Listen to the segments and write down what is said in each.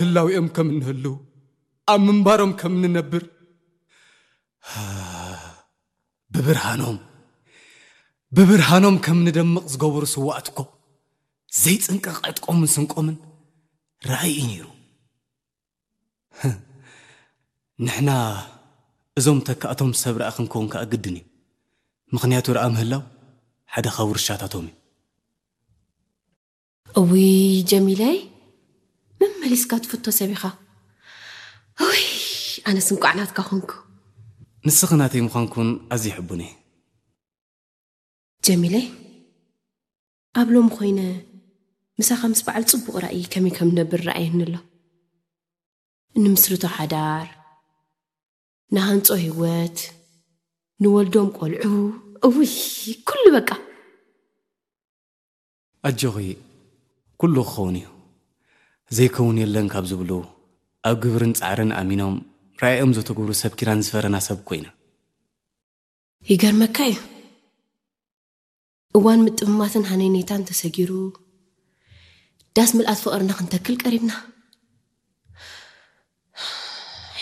ህላዊኦም ከም እንህሉ፣ ኣብ ምንባሮም ከም እንነብር፣ ብብርሃኖም፣ ብብርሃኖም ከም ንደምቕ ዝገበሩ ስዋኣት እኮ ዘይጽንቀቕ ዕጥቆምን ስንቆምን ራእይ እዩ ነይሩ። ንሕና እዞም ተካእቶም ሰብ ረኣ ክንከውን ከኣ ግድን እዩ። ምኽንያቱ ረኣ ምህላው ሓደ ካብ ውርሻታቶም እዩ። እውይ ጀሚለይ፣ መመሊስካ ትፍቶ ሰብ ኢኻ። እውይ ኣነስ እንቋዕ ናትካ ኮንኩ። ንስኺ ናተይ ምዃንኩን ኣዝየ ሕቡን እየ። ጀሚለይ፣ ኣብ ሎሚ ኮይነ ምሳኻ ምስ በዓል ጽቡቕ ራእይ ከመይ ከም ነብር ረኣየኒ ኣሎ። ንምስርቶ ሓዳር፣ ንሃንጾ ህይወት፣ ንወልዶም ቆልዑ፣ እውይ ኩሉ በቃ። ኣጆኺ፣ ኩሉ ክኸውን እዩ። ዘይከውን የለን ካብ ዝብሉ፣ ኣብ ግብርን ጻዕርን ኣሚኖም ራእዮም ዘተግብሩ ሰብ ኪዳን ዝፈረና ሰብ ኮይና። ይገርመካ እዩ። እዋን ምጥምማትን ሃነይነይታን ተሰጊሩ፣ ዳስ ምልኣት ፍቕርና ክንተክል ቀሪብና።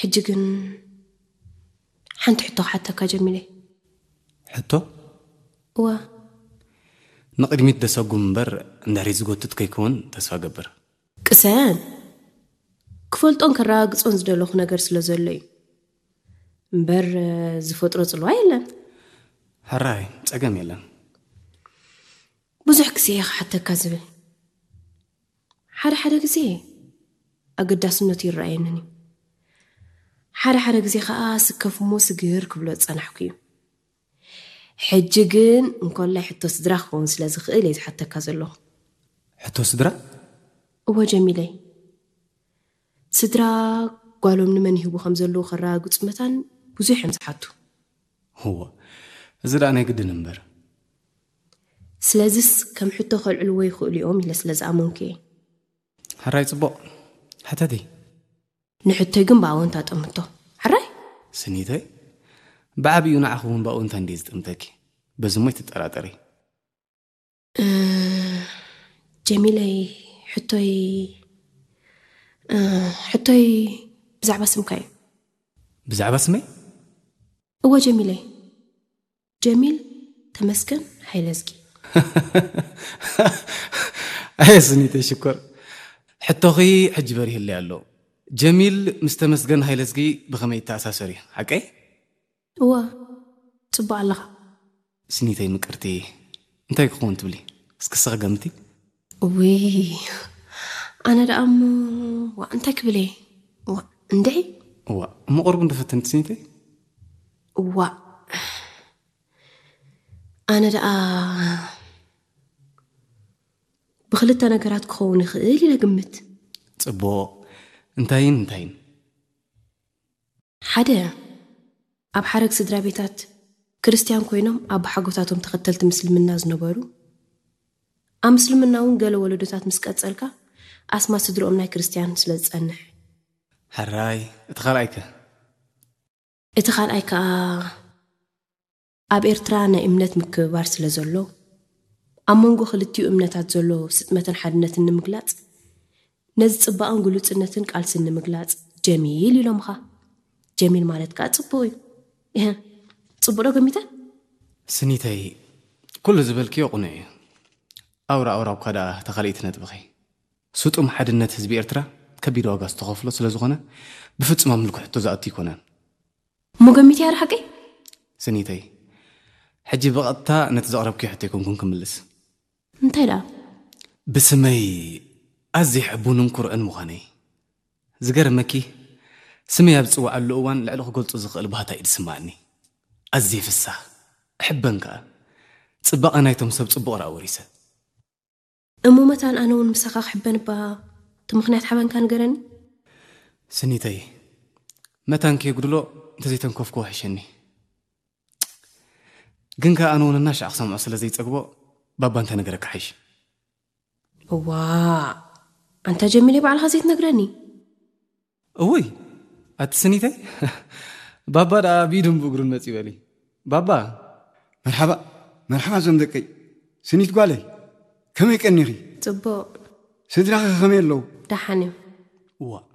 ሕጂ ግን ሓንቲ ሕቶ ክሓተካ ጀሚለይ። ሕቶ? እዋ። ንቕድሚት ደሰጉም እምበር፣ እንድሕሪት ዝጎትት ከይከውን ተስፋ ገብር። ቅሰን። ክፈልጦን ከረጋግጾን ዝደለኹ ነገር ስለ ዘሎ እዩ። እምበር ዝፈጥሮ ጽልዋ የለን። ሕራይ፣ ጸገም የለን። ብዙሕ ግዜ እየ ክሓተካ ዝብል። ሓደ ሓደ ግዜ ኣገዳስነቱ ይረኣየንን እዩ። ሓደ ሓደ ግዜ ከኣ ስከፍ እሞ ስግር ክብሎ ዝጸናሕኩ እዩ። ሕጂ ግን እንኮላይ ሕቶ ስድራ ክኸውን ስለ ዝኽእል እየ ዝሓተካ ዘለኹ። ሕቶ ስድራ? እወ ጀሚለይ። ስድራ ጓሎም ንመን ይህቡ ከም ዘለዉ ከረጋግጹ መታን ብዙሕ እዮም ዝሓቱ። እወ፣ እዚ ደኣ ናይ ግድን እምበር። ስለዚስ ከም ሕቶ ከልዕልዎ ይኽእሉ እዮም ኢለ ስለ ዝኣመንኩ እየ። ሕራይ ጽቡቕ። ሕተቲ። ንሕቶይ ግን ብኣወንታ ጠምቶ። ሕራይ? ስኒተይ፣ ብዓቢኡ ንዓኺ እውን ብኣወንታ እንድየ ዝጥምተኪ። በዚ እሞ ኣይትጠራጠሪ። እ፣ ጀሚለይ፣ ሕቶይ፣ እ፣ ሕቶይ ብዛዕባ ስምካ እዩ። ብዛዕባ ስመይ? እወ ጀሚለይ። ጀሚል ተመስገን ሃይለዝጊ። ኣየ ስኒተይ ሽኮር፣ ሕቶኺ ሕጂ በሪህለይ ኣሎ። ጀሚል ምስ ተመስገን ሃይለዝጊ ብኸመይ ይተኣሳሰር እዩ? ሓቀይ? እወ፣ ጽቡቕ ኣለኻ። ስኒተይ ምቅርቲ፣ እንታይ ክኸውን ትብሊ? እስኪ ንስኺ ገምቲ። ውይ፣ ኣነ ደኣ እሞ፣ ዋ፣ እንታይ ክብል እየ? ዋ፣ እንድዒ? እዋ፣ እሞ ቁሩብ እንዶ ፈትንቲ ስኒተይ። እዋ፣ ኣነ ደኣ ብኽልተ ነገራት ክኸውን ይኽእል ኢለ ግምት። ጽቡቕ። እንታይን እንታይን? ሓደ፣ ኣብ ሓረግ ስድራ ቤታት ክርስትያን ኮይኖም ኣቦሓጎታቶም ተኸተልቲ ምስልምና ዝነበሩ፣ ኣብ ምስልምና እውን ገለ ወለዶታት ምስ ቀጸልካ ኣስማት ስድርኦም ናይ ክርስትያን ስለ ዝጸንሕ። ሕራይ፣ እቲ ካልኣይከ? እቲ ካልኣይ ከኣ ኣብ ኤርትራ ናይ እምነት ምክብባር ስለ ዘሎ፣ ኣብ መንጎ ክልቲኡ እምነታት ዘሎ ስጥመትን ሓድነትን ንምግላጽ፣ ነዚ ጽባቐን ግሉጽነትን ቃልስን ንምግላጽ ጀሚል ኢሎምኻ። ጀሚል ማለት ከኣ ጽቡቕ እዩ። እህ፣ ጽቡቕ ዶ ገሚተ? ስኒተይ፣ ኩሉ ዝበልክዮ ቅኑዕ እዩ። ኣውራ ኣውራ እኳ ደኣ እታ ካልኣይቲ ነጥብኺ። ስጡም ሓድነት ህዝቢ ኤርትራ ከቢድ ዋጋ ዝተኸፍሎ ስለ ዝኾነ፣ ብፍጹም ኣብ ምልኩ ሕቶ ዝኣቱ ኣይኮነን። እሞ ገሚተ እያ ዶ ሓቀይ? ስኒተይ፣ ሕጂ ብቐጥታ ነቲ ዘቕረብክዮ ሕቶ ኣይኮንኩን ክምልስ። እንታይ ደኣ? ብስመይ ኣዝየ ሕቡንን ኩርዕን ምዃነይ። ዝገርመኪ፣ ስመይ ኣብ ዝጽውዓሉ እዋን ልዕሊ ክገልጾ ዝኽእል ባህታ እዩ ዝስምዓኒ። ኣዝየ ፍሳህ፣ እሕበን ከኣ። ጽባቐ ናይቶም ሰብ ጽቡቕ ረኣ ወሪሰ። እሞ መታን ኣነ እውን ምሳኻ ክሕበን እባ እቲ ምኽንያት ሓበንካ ንገረኒ። ስኒተይ፣ መታን ከየጉድሎ እንተዘይተንከፍክዎ ሕሸኒ። ግን ከኣ ኣነ እውን እናሻዕ ክሰምዖ ስለ ዘይጸግቦ፣ ባባ እንተነገረካ ሓይሽ። እዋ፣ ኣንታ ጀሚለይ ባዕልኻ ዘይትነግረኒ? እውይ፣ ኣቲ ስኒተይ፣ ባባ ደኣ ብኢዱን ብእግሩን መጺኡ በሊ። ባባ። መርሓባ፣ መርሓባ እዞም ደቀይ። ስኒት ጓለይ፣ ከመይ ቀኒኺ? ጽቡቕ። ስድራኺ ከ ከመይ ኣለዉ? ደሓን እዮም። እዋ፣